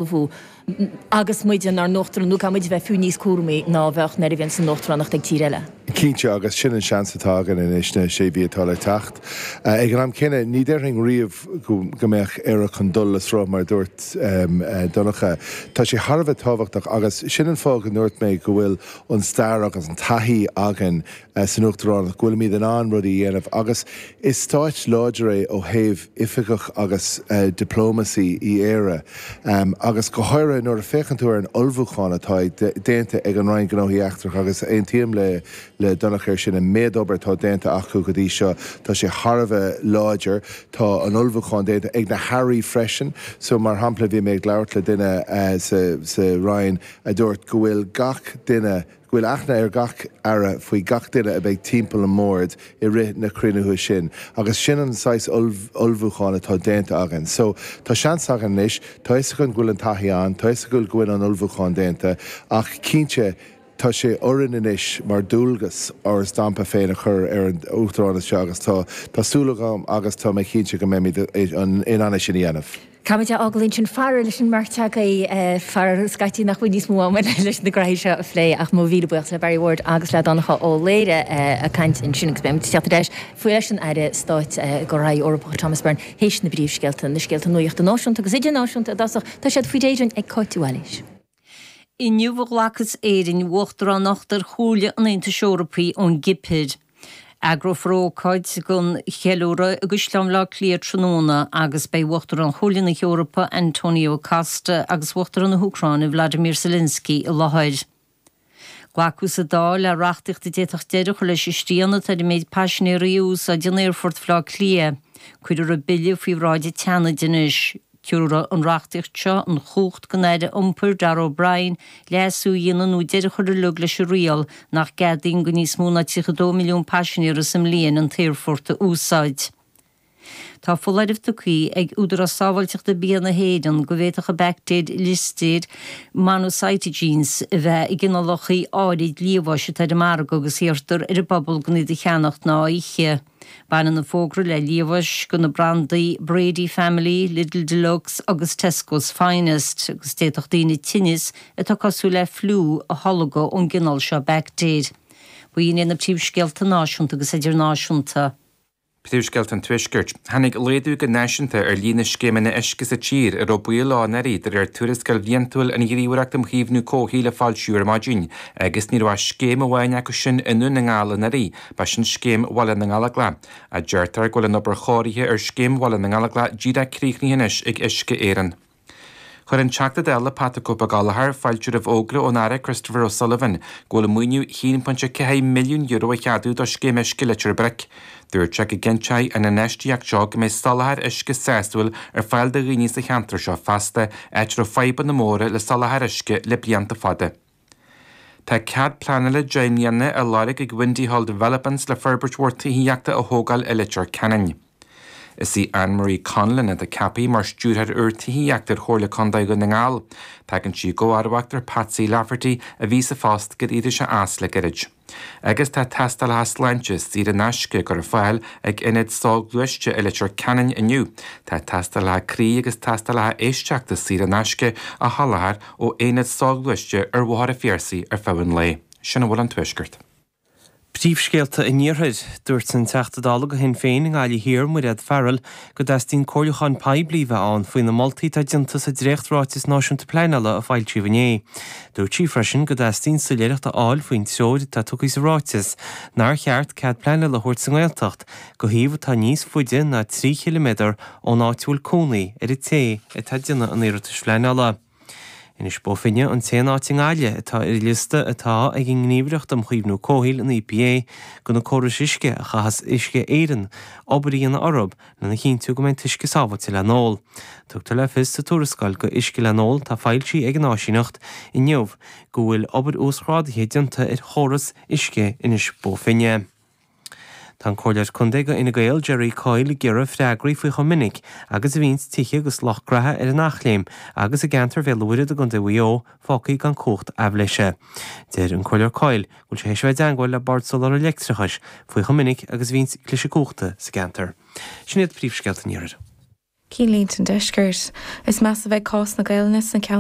Ullmhú agus muid inár n-uachtarán, nó caithfidh muid a bheith fiú níos cúramaí ná a bheadh nuair a bhíonns an uachtaránacht ag tír eile. Cinnte, agus sin an seans atá againn anois na sé mhí atá le teacht. Ag an am céanna, ní déarfainn riamh go mbeadh Éire chun dul le sruth, mar a dúirt Donncha. Tá sé thar a bheith tábhachtach agus sin an fáth go ndúirt mé go bhfuil an stair agus an taithí againn san Uachtaránacht, go bhfuilimid in ann rudaí a dhéanamh agus is stáit láidir é ó thaobh oifigeach agus diplomacy í Éire agus go háirithe nuair a féachann tú ar an ullmhúchán atá déanta ag an Roinn Gnóthaí Eachtracha agus aontaím le le Donncha ar sin, an méid obair atá déanta acu go dtí seo, tá sé thar a bheith láidir. Tá an ullmhúchán déanta ag na hairí freisin so mar shampla bhí mé ag labhairt le duine sa Roinn a dúirt go bhfuil gach duine, go bhfuil aithne ar gach Aire faoi gach duine a bheidh timpeall an mbord i rith na cruinnithe sin agus sin an saghas ullmhúcháin atá déanta againn. So, tá seans againn anois, tá 'fhios againn go bhfuil an taithí ann, tá 'fhios againn go bhfuil an ullmhúchán déanta ach cinnte tá sé orainn anois mar dualgas ár stampa féin a chur ar an Uachtaránacht seo agus tá tá súil agam agus tá mé cinnte go mbeimid in ann é sin a dhéanamh. Caithfimid é a fhágáil ansin faraor leis an mbeirt agaibh, faraor scaití nach bhfuil níos mó ama leis na graithí seo a phlé ach mo mhíle buíochas le Barry Ward agus le Donncha Ó Laoghaire ag caint ansin agus beimid ag teacht ar ais faoi leis an Aire Stáit Gnóthaí Eorpacha Thomas Byrne théis na bpríomhscéalta, na scéalta nuachta náisiúnta agus idirnáisiúnta i dtosach, tá siad faoi réir ag Cáit Mhaoilís. Inniu a ghlacas Éirinn uachtaránacht ar Chomhairle an Aontais Eorpaigh ón gCipir. Eagrófar ócáid don cheiliúradh i gCaisleán Bhaile Átha Cliath tráthnóna agus beidh Uachtarán Chomhairle na hEorpa Antonio Costa agus Uachtarán na hÚcráine Vladimir Zelensky i láthair. Glacadh sa Dáil le reachtaíocht a d'fhéadfadh deireadh a chur leis an srian atá ar an méid paisinéirí a úsáideann Aerfort Bhaile Átha Cliath. Cuirfear an bille faoi bhráid an tSeanaid anois. Tabharfaidh an reachtaíocht seo an chumhacht don Aire Iompair, Darragh O'Brien, leasú a dhéanamh nó deireadh a chur uilig leis an riail nach gceadaíonn do níos mó ná 32 milliún paisinéara sa mbliain an t-aerfort a úsáid. Tá foláireamh tugtha ag Údarás Sábháilteachta Bia na hÉireann go bhféadfadh an baictéir Listeria monocytogenes a bheith i gcineálacha áirid liamháis atá ar an margadh agus iarrtar ar an bpobal gan iad a cheannacht ná a ithe. Baineann an fógra le liamhás de na brandaí Brady Family, Lidl Deluxe agus Tesco's Finest agus d'fhéadfadh daoine tinneas atá cosúil le fliú a tholgadh ón gcineál seo baictéir. B'in iad na príomhscéalta náisiúnta agus idirnáisiúnta. Príomhscéalta an Tuaiscirt. Tháinig laghdú go náisiúnta ar líon na scéimeanna uisce sa tír a raibh baol leo anuraidh, de réir tuarascáil bhliantúil an Ghníomhaireacht um Chaomhnú Comhshaoil a foilsíodh ar maidin, agus ní raibh ach scéim amháin acu sin i nDún na nGall anuraidh, ba sin Scéim Bhaile na nGallóglach. Deirtear go bhfuil an obair chóirithe ar Scéim Bhaile na nGallóglach díreach críochnaithe anois ag Uisce Éireann. Chuir an Teachta Dála Pat 'The Cope Gallagher fáilte roimh fhógra ón Aire Christopher O'Sullivan go bhfuil maoiniú €1.4 milliún a cheadú do Scéim Uisce Leitir Bric. Dúirt sé go gcinnteoidh an infheistíocht seo go mbeidh soláthar uisce sásúil ar fáil do dhaoine sa cheantar seo feasta, áit a raibh fadhbanna móra le soláthar uisce le blianta fada. Tá cead pleanála 10 mbliana á lorg ag Windy Hall Developments le forbairt mhór tithíochta a thógáil i Leitir Ceanainn. Is í Anne Marie Conlon atá ceaptha mar Stiúrthóir úr Tithíochta ar Chomhairle Contae Dhún na nGall. Tagann sí i gcomharbacht ar Patsy Lafferty a bhí sa phost gur éirigh sé as le gairid. Agus tá tástálacha sláinte saor in aisce á gcur ar fáil ag Ionad Soghluaiste i Leitir Ceanainn inniu. Tá tástálacha croí agus tástálacha éisteachta saor in aisce á sholáthar ó Aonad Soghluaiste ar Bhóthar an Phiarsaigh ar feadh an lae. Sin a bhfuil ón Tuaisceart. Príomhscéalta an Iarthair. Dúirt an Teachta Dála do Shinn Féin i nGaillimh Thiar, Mairéad Farrell, go dteastaíonn comhairliúchán poiblí a bheith ann faoi na moltaí atá déanta sa dréacht-Ráiteas Náisiúnta Pleanála a foilsíodh inné. Dúirt sí freisin go dteastaíonn soiléireacht a fháil faoin treoir atá tugtha sa ráiteas nár cheart cead pleanála a thabhairt sa nGaeltacht do shuíomh atá níos faide ná 3 chiliméadar ón áit a bhfuil cónaí ar an té atá ag déanamh an iarratais phleanála. Inis Bó Finne an t-aon áit i nGaillimh atá ar an liosta atá ag an nGníomhaireacht um Chaomhnú Comhshaoil, an EPA, do na córais uisce a chaithfeas Uisce Éireann obair a dhéanamh orthu lena chinntiú go mbeidh an t-uisce sábháilte le n-ól. Tugtar le fios sa tuarascáil go Uisce le n-ól atá foilsithe ag an áisíneacht inniu go bhfuil obair uasghrádaithe déanta ar chóras uisce Inis Bó Finne. Tá an Comhairleoir Contae go Fhine Gael, Jerry Coyle ag iarraidh freagraí faoi chomh minic agus a bhíonns tithe agus lucht graithe ar an Eachléim agus i gceantar Bhéal an Mhuirthead i gContae Mhaigh Eo fágtha gan cumhacht aibhléise. Deir an Comhairleoir Coyle go bhfuil sé théis a bheith i dteangmháil le Bord Soláthair Leictreachais faoi chomh minic agus a bhíonns cliseadh cumhachta sa gceantar. Sin iad príomhscéalta an Iarthair. Cinnlínte an Deiscirt. Is measa a bheidh cás na Gaelainne sna.